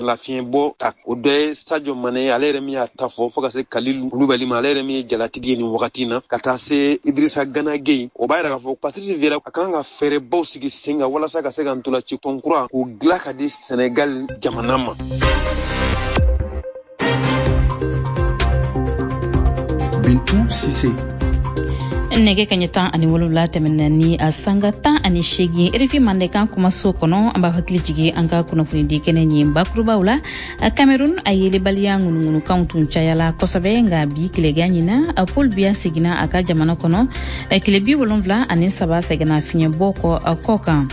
Lafiɲɛbɔ ta, o dɔ ye Sadio Mane, ale yɛrɛ min y'a ta fɔ, fo ka se Kalilu Kulubali ma, ale yɛrɛ min ye jalatigi ye nin wagati na, ka taa se Idrissa Gana Gueye. O b'a yira k'a fɔ Patrice Vieira a kan ka fɛɛrɛbaw sigi sen kan walasa ka se ka ntolaci tɔn kura k'o dilan ka di Senegal jamana ma. Bintu Sise. Nɛgɛ kaɲɛ 17 tɛmɛna ni a sanga 18, RFI Mandenkan kumaso kɔnɔ. An b'a hakili jigi an ka kunnafonidi kɛnɛ ɲin bakurubaw la. Cameroun, a yelebaliya ŋunuŋunukanw tun cayala kosɛbɛ, nka bi tilegan ɲina, Paul Biya seginna a ka jamana kɔnɔ tile 73 sɛgɛnna fiɲɛbɔ kɔ kɔ kan.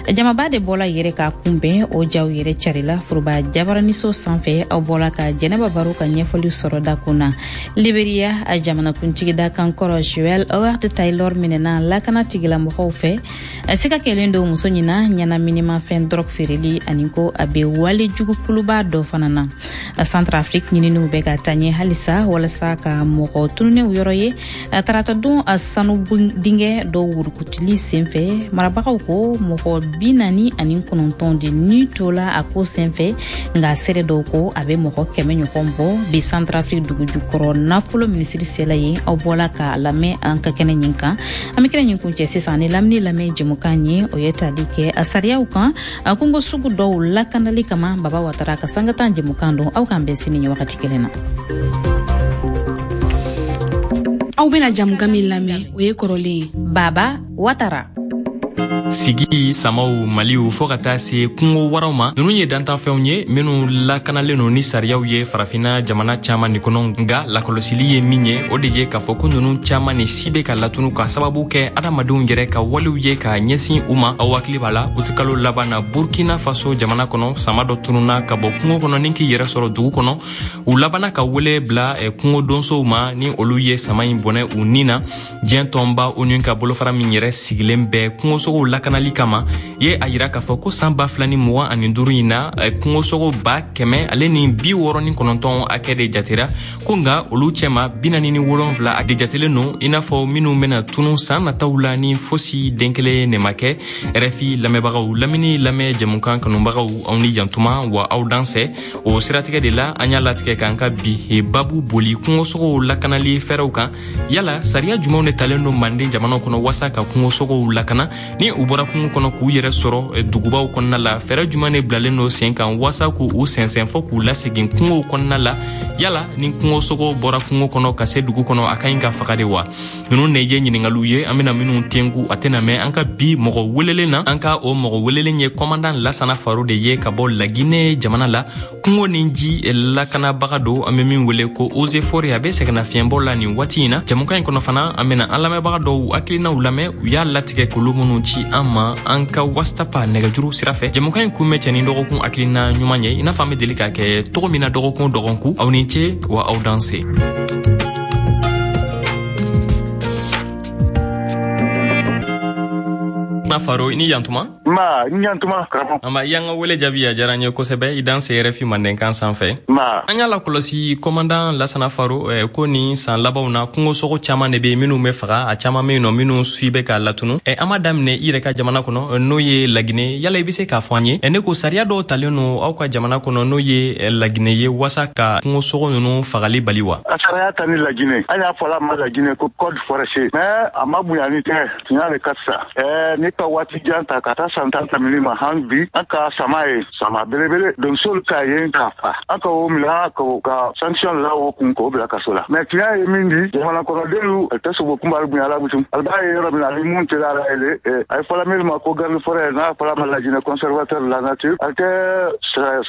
Jamaba de bɔla yɛrɛ k'a kunbɛn, o jaw yɛrɛ carila foroba jabaraniso sanfɛ. Aw bɔla ka Jɛnɛba Baro ka ɲɛfɔli sɔrɔ dakun na. Liberia, a jamanakuntigi dakan kɔrɔ Joel Howard Taylor minɛna lakana tigilamɔgɔw fɛ. Siga kɛlen don muso ɲina ɲɛnaminimafɛn drogue feereli ani ko a bɛ wale jugu kuluba dɔ fana na. Centrafrique, ɲininiw bɛ ka taa ɲɛ halisa walasa ka mɔgɔ tununnenw yɔrɔ ye. Tarata don, sanu dingɛ dɔw wurukutuli senfɛ, marabagaw ko mɔgɔ 49 de ni tola a ko senfɛ, nka seere dɔw ko a bɛ mɔgɔ 100 ɲɔgɔn bɔ. Bi, Centrafrique dugujukɔrɔ nafolo minisiri sela yen. Aw bɔla k'a lamɛn an ka kɛnɛ ɲin kan. An bɛ kɛnɛ ɲin kuncɛ sisan ni lamini lamɛn jɛmukan ye, o ye tali kɛ a sariyaw kan kungo sugu dɔw lakanali kama. Baba Watara ka sanga 10 jɛmukan don. Aw k'an bɛn sini ɲɛ wagati kelen na. Aw bena jamukan min lamɛn, o ye kɔrɔlen ye. Baba Watara. Sigi samaw, maliw, fɔɔ ka taa se kungo waraw ma, nunu ye dantanfɛnw ye minw lakanalen no ni sariyaw ye Farafina jamana caaman ni kɔnɔ. Nga lakɔlɔsili ye min ye, o de ye k'a fɔ ko nunu caaman ni si be ka latunu ka sababu kɛ adamadenw yɛrɛ ka walew ye ka ɲɛsin u ma. Aw hakili b'a la, utikalo laban na, Burkina Faso jamana kɔnɔ, sama dɔ tununa ka bɔ kungo kɔnɔ ni k'i yɛrɛ sɔrɔ dugu kɔnɔ. U labana ka wele bila kungo donsow ma ni olu ye sama in bɔnɛ u ni na. Diɲɛ tɔnba ONU ka bolofara min yɛrɛ sigilen bɛ kungosogow lakanali kama ye a yira k'a fɔ ko san 2025 in na, kungosogo 169 hakɛ de jatera ko, nga olu cɛma 47 de jatelen don i n'a fɔ minw bena tunu saan nataw la ni fosi den kelen ne ma kɛ. RFI lamɛnbagaw, lamini lamɛn jɛmukan kanubagaw, aw ni jantuma wa aw dansɛ. O siratigɛ de la, an y'a latigɛ k'an ka bi babu boli kungosogow lakanali fɛɛrɛw kan. Yala sariya jumanw de talen don Manden jamanaw kɔnɔ waasa ka kungosogow lakana ni u bɔra kungo kɔnɔ k'u yɛrɛ sɔrɔ dugubaw kɔnɔna la? Fɛɛrɛ juman de bilalen don sen kan waasa k'u sɛnsɛn fɔ k'u lasegin kungow kɔnɔna la? Yala ni kungosogo bɔra kungo kɔnɔ ka se dugu kɔnɔ, a ka ɲi ka faga de wa? Ninnu de ye ɲiningaliw ye an bena minw tengu. A tɛna mɛn an ka bi mɔgɔ welelen na. An ka o mɔgɔ welelen ye kɔmandan Lasana Faro de ye ka bɔ Lagine jamana la. Kungo ni ji lakanabaga don, an be min wele ko eaux et forêts. A be sɛgɛnnafiɲɛbɔ la nin waati in na. Jɛmukan in kɔnɔ fana, an bena an lamɛnbaga dɔw hakilinaw lamɛn, u y'a latigɛ k'olu minnu ci an ma an ka WhatsApp nɛgɛjuru sira fɛ. Jɛmukan in kun bɛ cɛ ni dɔgɔkun hakilina ɲuman ye, i n'a fɔ an be deli k'a kɛ cogo min na dɔgɔkun o dɔgɔkun. Aw ni ce wa aw danse. Na Faro, i ni yantuma. Ma n yantuma, karamɔgɔ. Amba, i y'an ka wele jaabi, a diyara n ye kosɛbɛ. I danse RFI Mandenkan sanfɛ. Ma. An y'a lakɔlɔsi, kɔmandan Lasana Faro, ko nin san labanw na, kungosogo caman de be minnu bɛ faga, a caman be yen nɔ minnu si bɛ ka latunu. An b'a daminɛ i yɛrɛ ka jamana kɔnɔ, n'o ye Lagine. Yala i be se k'a fɔ an ye, ne ko sariya dɔw talen no aw ka jamana kɔnɔ, n'o ye Lagine ye, waasa ka kungosogo nunu fagali bali wa? A sariya ta ni Lagine, an y'a fɔla ma Lagine ko code forestier, mais a ma bonya ni tɛ tiɲɛ de ka fisa. Ne ka waati jan ta ka taa san 10 tɛmɛni ma, han bi an ka sama ye sama belebele, donsolu ka yen k'a fa, an ka o minɛ ka sanction la o kun k'o bila kaso la. Mais tiɲɛ ye min di jamana kɔnɔdenw tɛ sogo kunbali bonya la butum ali b'a ye yɔrɔ min na ani mun tɛ ala ye, a ye fɔla min ma ko garde forêt, n'a fɔla ma Lajinɛ conservateur de la nature, a tɛ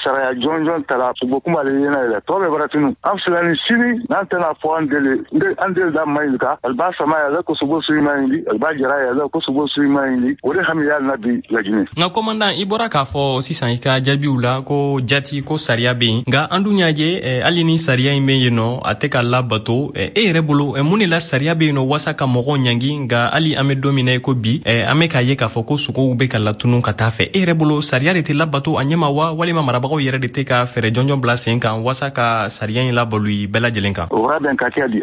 saraya jɔnjɔn ta la sogo kunbali yena yɛlɛ tɔ bɛ bara tunu. An filɛ ni sini n'an tɛna fɔ an deli an deli da ma ɲi ka ali b'a sama yɛlɛ ko sogo sugu ma ɲi, ali b'a jara yɛlɛ ko sogo sugu ma ɲi. O de hami y'a na bi Lajinɛ. Nka kɔmandan, i bɔra k'a fɔ sisan i ka jaabiw la ko jati ko sariya bɛ yen, nka an dun y'a ye, hali ni sariya in bɛ yen nɔ, a tɛ ka labato. E yɛrɛ bolo, mun de la sariya bɛ yen nɔ waasa ka mɔgɔw ɲangi, nka hali an bɛ don min na i ko bi, an bɛ k'a ye k'a fɔ ko sogow bɛ ka latunu ka taa fɛ? E yɛrɛ bolo, sariya de tɛ labato a ɲɛma wa, walima marabagaw yɛrɛ de tɛ ka fɛɛrɛ jɔnjɔn bila sen kan waasa ka sariya in labalo bɛɛ lajɛlen kan? O bɛn ka kɛ di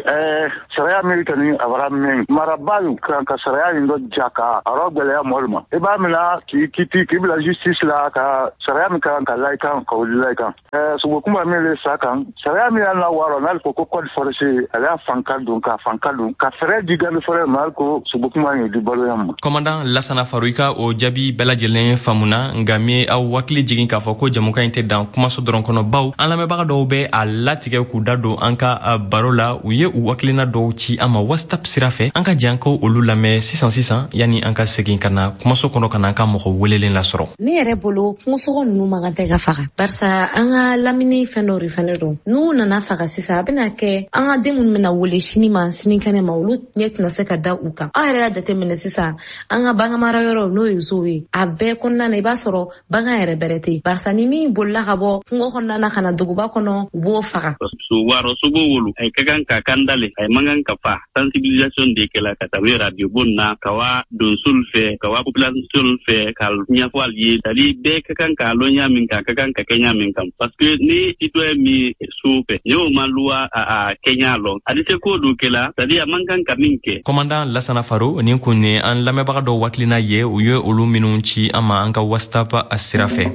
sariya min tɛ ni a bara min marabaalu kan ka sariya in dɔ ja ka a rɔ gwɛlɛya. gwɛlɛya mɔlu ma. I b'a mina k'i kiti k'i bila justice la ka sariya min kan ka la i kan ka o la i kan. Sogokunba min le sa kan sariya min y'a la wɔɔrɔ n'ale ko ko code forestier ale y'a fanka don ka fanka don ka fɛɛrɛ di garde forêt ma hali ko sogokunba ye di baloya ma. Commandant Lasana Faro, i ka o jaabi bɛɛ lajɛlen faamuna, nka min aw hakili jigin k'a fɔ ko jamukan in tɛ dan kumaso dɔrɔn kɔnɔ, baw an lamɛnbaga dɔw bɛ a latigɛ k'u da don an ka baro la. U ye u hakilina dɔw ci an ma WhatsApp sira fɛ. An ka jɛ an ka olu lamɛn sisan sisan yanni an ka segin ka na kumaso kɔnɔ ka na an ka mɔgɔ welelen lasɔrɔ. Ne yɛrɛ bolo, kungosogo ninnu man kan tɛ ka faga, barisa an ka lamini fɛn dɔw de fɛnɛ don. N'u nana faga sisan, a bɛna kɛ an ka den minnu bɛna wele sini ma sinikɛnɛ ma, olu ɲɛ tɛna se ka da u kan. Aw yɛrɛ y'a jateminɛ sisan, an ka baganmara yɔrɔ, n'o ye zoo ye, a bɛɛ kɔnɔna na, i b'a sɔrɔ bagan yɛrɛ bɛrɛ tɛ yen, barisa ni min bolila ka bɔ kungo kɔnɔna na ka na duguba kɔnɔ, u b'o faga. So warɔ sogo wolu ay ka kan ka kanda le, ay man kan ka fa. Sensibilisation de kɛla ka tabi radio bon na, ka wa donsul fɛ, ka wa population fɛ, ka ɲɛfɔ al ye, c'est à dire bɛɛ ka kan k'a lɔn ɲa min kan, ka kan ka kɛ ɲa min kan, parce que ni citoyen min so fɛ, ni o ma loi a kɛɲa lɔn, a di se ko do kɛla, c'est à dire a man kan ka min kɛ. Commandant Lasana Faro, nin kun ye an lamɛnbaga dɔw hakilina ye, u ye olu minnu ci an ma an ka WhatsApp sira fɛ.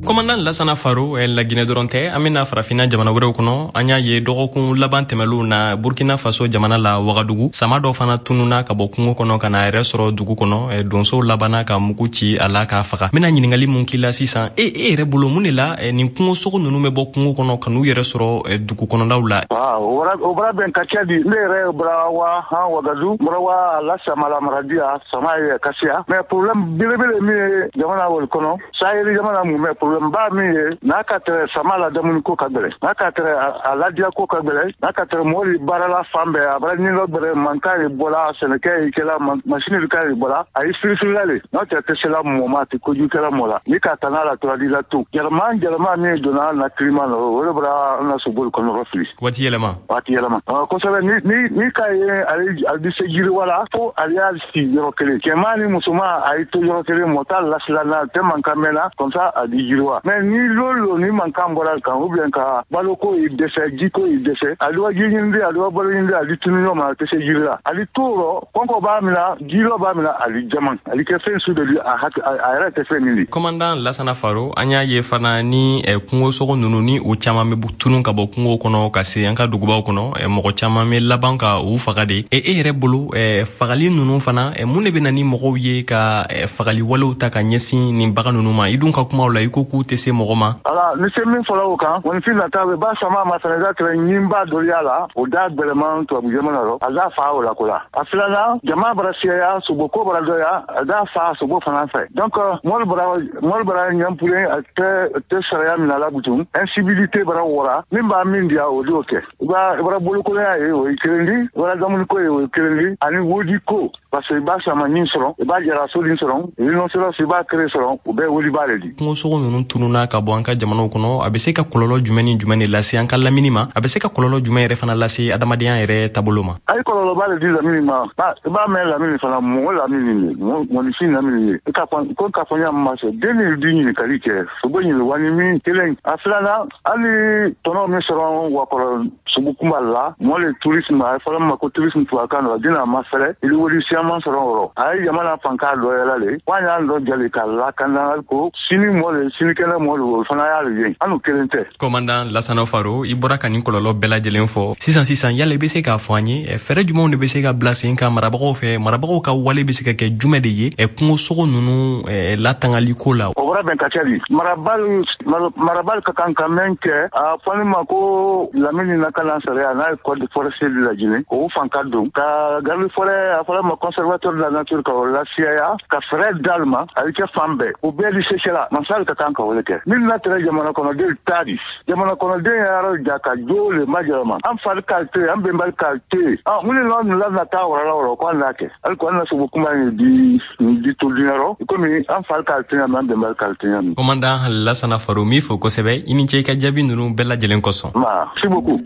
Commandant Lasana Faro, Laginɛ dɔrɔn tɛ, an bɛna Farafinna jamana wɛrɛw kɔnɔ. An y'a ye dɔgɔkun laban tɛmɛlenw na, Burkina Faso jamana la, Wagadugu, sama dɔ fana tununa ka bɔ kungo kɔnɔ ka na a yɛrɛ sɔrɔ dugu kɔnɔ. Donsow labanna ka mugu ci a la k'a faga. N bɛna ɲininkali mun k'i la sisan, e yɛrɛ bolo, mun de la nin kungosogo ninnu bɛ bɔ kungo kɔnɔ ka n'u yɛrɛ sɔrɔ dugu kɔnɔnaw la? O bara bɛn ka ca di. Ne yɛrɛ bɔra wa han Wagadu, bɔra wa la sama la maradiya sama ye kasiya, mais problème belebele min ye jamana wol kɔnɔ, Sahel jamana mun bɛ, problème ba min ye, n'a ka tɛrɛ sama la dumuni ko ka gɛlɛn, n'a ka tɛrɛ a ladiya ko ka gɛlɛn, n'a ka tɛrɛ mɔgɔ baarala fan bɛɛ a bara ɲinɔ gbɛrɛ mankan ye bɔla, sɛnɛkɛ ye kɛla, masini ka ye bɔla, a ye firifirila le. N'o tɛ tɛ sela mɔgɔ ma, a tɛ kojugu kɛla mɔgɔ la. Ni ka taa n'a la tora di la to yɛlɛma yɛlɛma min donna na climat la, o de bɔra an na soboli kɔnɔ fili. Waati yɛlɛma. Waati yɛlɛma, kosɛbɛ. Ni ka ye ale bɛ se yiriwa la fo ale y'a sigi yɔrɔ kelen, cɛman ni musoman a ye to yɔrɔ kelen, mɔgɔ t'a lasila na tɛ mankan mɛn na, comme ça a di yiriwa. Mais ni lolo ni mankan bɔra kan, ou bien ka baloko yi dɛsɛ, jiko yi dɛsɛ, ale wa ji ɲini, ale wa balo ɲini, ale tunu ɲɔgɔn ma, a tɛ se jiri la, ale to rɔ kɔnkɔ b'a minɛ, jilɔ b'a minɛ, ale jaman ale kɛ fɛn su de di, a yɛrɛ tɛ fɛn min di. Commandant Lasana Faro, an y'a ye fana ni kungosogo ninnu ni u caman bɛ tunun ka bɔ kungo kɔnɔ ka se an ka dugubaw kɔnɔ, mɔgɔ caman bɛ laban ka u faga de. E yɛrɛ bolo, fagali ninnu fana, mun de bɛ na ni mɔgɔw ye ka fagali walew ta ka ɲɛsin nin bagan ninnu ma? I dun ka kumaw la, i ko k'u tɛ se mɔgɔ ma. Ala ni se min fɔra o kan, mɔnifin nata bɛ ba sama ma fana da tɛrɛ ɲinba dɔ y'a la, o da gbɛlɛman tubabu jamana rɔ, a da fa o la ko la. A filanan, jama bara siyaya, sogo ko bara dɔya, a da fa sogo fana fɛ. Donc mɔli bara ɲɛnpulen, a tɛ sariya minɛ la butun, incivilité bara wɔra, min b'a min diya o d'o kɛ. I bara bolokolonya ye, o ye kelen di, i bara damuniko ye, o ye kelen di, ani wodi ko, parce que i b'a sama ɲin sɔrɔ, i b'a jara soden sɔrɔ, rhinocéros i b'a kere sɔrɔ, o bɛɛ woliba de di. Kungosogo ninnu tununa ka bɔ an ka jamanaw kɔnɔ, a bɛ se ka kɔlɔlɔ jumɛn ni jumɛn de lase an ka lamini ma? A bɛ se ka kɔlɔlɔ jumɛn yɛrɛ fana lase adamadenya yɛrɛ taabolo ma? A ye kɔlɔlɔba de di lamini ma. I b'a mɛn lamini fana, mɔgɔ lamini ye, mɔgɔninfin lamini ye. I ka ko k'a fɔ ɲa ma sɔn den ni di ɲininkali kɛ sogo ɲini wani min kelen. A filanan, hali tɔnɔ min sɔrɔ wakɔrɔ sogo kunba la, mɔgɔ le tourisme, a ye fɔlɔ ma ko tourisme tubabukan na, den a ma fɛrɛ, i wuli siyaman sɔrɔ o rɔ. A ye jamana fanka dɔ yɛlɛ le, wa y'an dɔ jali ka lakana ko sini mɔ le, sinikɛnɛ mɔ le, o fana y'ale ye, an n'u kelen tɛ. Commandant Lasana Faro, i bɔra ka nin kɔlɔlɔ bɛɛ lajɛlen fɔ sisan sisan, yala i bɛ se k'a fɔ an ye fɛɛrɛ jumɛnw de bɛ se ka bila sen kan marabagaw fɛ? Marabagaw ka wale bɛ se ka kɛ jumɛn de ye kungosogo ninnu latangali ko la? O bɔra bɛn ka ca di. Marabali ka kan ka mɛn kɛ, a fɔli ma ko lamini lakana sariya n'a ye code forestier de lajinɛ, k'o fanka don ka garde forêt, a fɔra ma conservateur de la nature, ka o lasiyaya ka fɛɛrɛ d'ale ma, a bɛ kɛ fan bɛɛ, o bɛɛ di sesela masali ka kan ka o de kɛ. Min na tɛrɛ jamana kɔnɔden ta di, jamana kɔnɔden yɛrɛ ja ka jo le majɛlɛma, an fari ka te, an bɛnbali ka te, mun de la la na taa wara la wɔrɔ ko an n'a kɛ hali ko an na sogo kuma ye di di to dunyarɔ komi an fari ka te ɲami, an bɛnbali ka te ɲami. Commandant Lasana Faro, min fo kosɛbɛ, i ni ce i ka jaabi ninnu bɛɛ lajɛlen kosɔn. Merci beaucoup.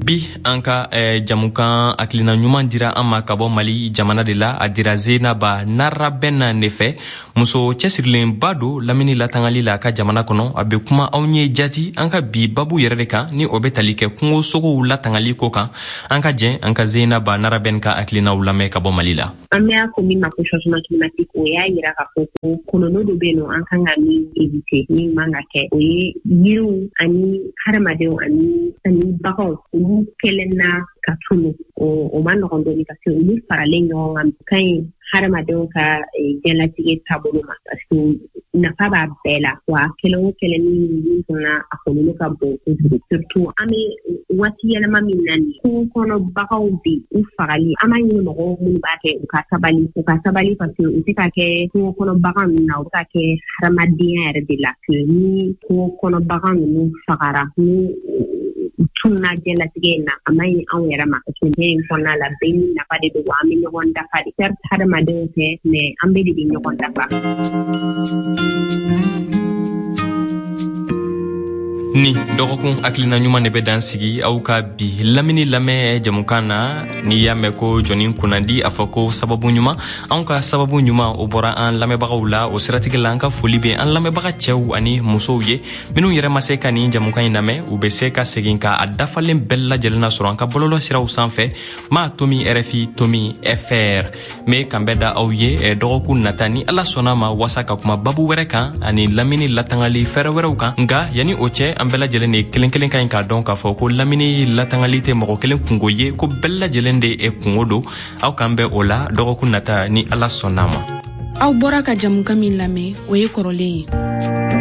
Bi an ka jamukan hakilina ɲuman dira an ma ka bɔ Mali jamana de la. A dira Zenaba Narabɛn ne fɛ, muso cɛsirilenba don lamini latangali la a ka jamana kɔnɔ. A bɛ kuma anw ye jati an ka bi babu yɛrɛ de kan, ni o bɛ tali kɛ kungosogow latangali ko kan. An ka jɛn an ka Zenaba Narabɛn ka hakilinaw lamɛn ka bɔ Mali la. An bɛ a fɔ min ma ko changement climatique, o y'a yira k'a fɔ ko kɔlɔlɔ dɔ bɛ yen nɔ, an kan ka min éviter, min man ka kɛ. O ye yiriw ani hadamadenw ani baganw, olu kɛlen na ka tunu, o ma nɔgɔn dɔɔni, parce que olu faralen ɲɔgɔn kan ka ɲi hadamadenw ka diɲɛlatigɛ taabolo ma, parce que nafa b'a bɛɛ la. Wa kɛlɛ o kɛlɛ ni min fana, a kɔlɔlɔ ka bon kojugu, surtout an bɛ waati yɛlɛma min na nin. Kungo kɔnɔ baganw bɛ u fagali, an b'a ɲini mɔgɔw minnu b'a kɛ, u ka sabali, u ka sabali, parce que u tɛ ka kɛ kungo kɔnɔ bagan ninnu na, u bɛ ka kɛ hadamadenya yɛrɛ de la. Que ni kungo kɔnɔ bagan ninnu fagara, ni u tununa diɲɛlatigɛ in na, a man ɲi anw yɛrɛ ma, parce que diɲɛ in kɔnɔna la, bɛɛ ni nafa de don, wa an bɛ ɲɔgɔn dafa de. Certes, hadamadenw tɛ, mais an bɛɛ de bɛ ɲɔgɔn dafa. Ni dɔgɔkun hakilina ɲuman de bɛ dan sigi aw ka bi lamini lamɛn jamukan na. N'i y'a mɛn ko jɔnni kunnandi, a fɔ ko sababu ɲuman. Anw ka sababu ɲuman, o bɔra an lamɛnbagaw la. O siratigɛ la, an ka foli bɛ an lamɛnbaga cɛw ani musow ye. Minnu yɛrɛ ma se ka nin jamukan in lamɛn, u bɛ se ka segin ka a dafalen bɛɛ lajɛlen na sɔrɔ an ka bɔlɔlɔ siraw sanfɛ, ma tomi RFI tomi FR. N bɛ kanbɛn da aw ye dɔgɔkun nata, ni Ala sɔnna ma, wasa ka kuma babu wɛrɛ kan ani lamini latangali fɛɛrɛ wɛrɛw kan. Nka yanni o cɛ, an bɛɛ lajɛlen de kelen kelen ka ɲi k'a dɔn k'a fɔ ko lamini latangali tɛ mɔgɔ kelen kungo ye, ko bɛɛ lajɛlen de ye kungo don. Aw k'an bɛn o la dɔgɔkun nata, ni Ala sɔnna ma. Aw bɔra ka jamukan min lamɛn, o ye kɔrɔlen ye.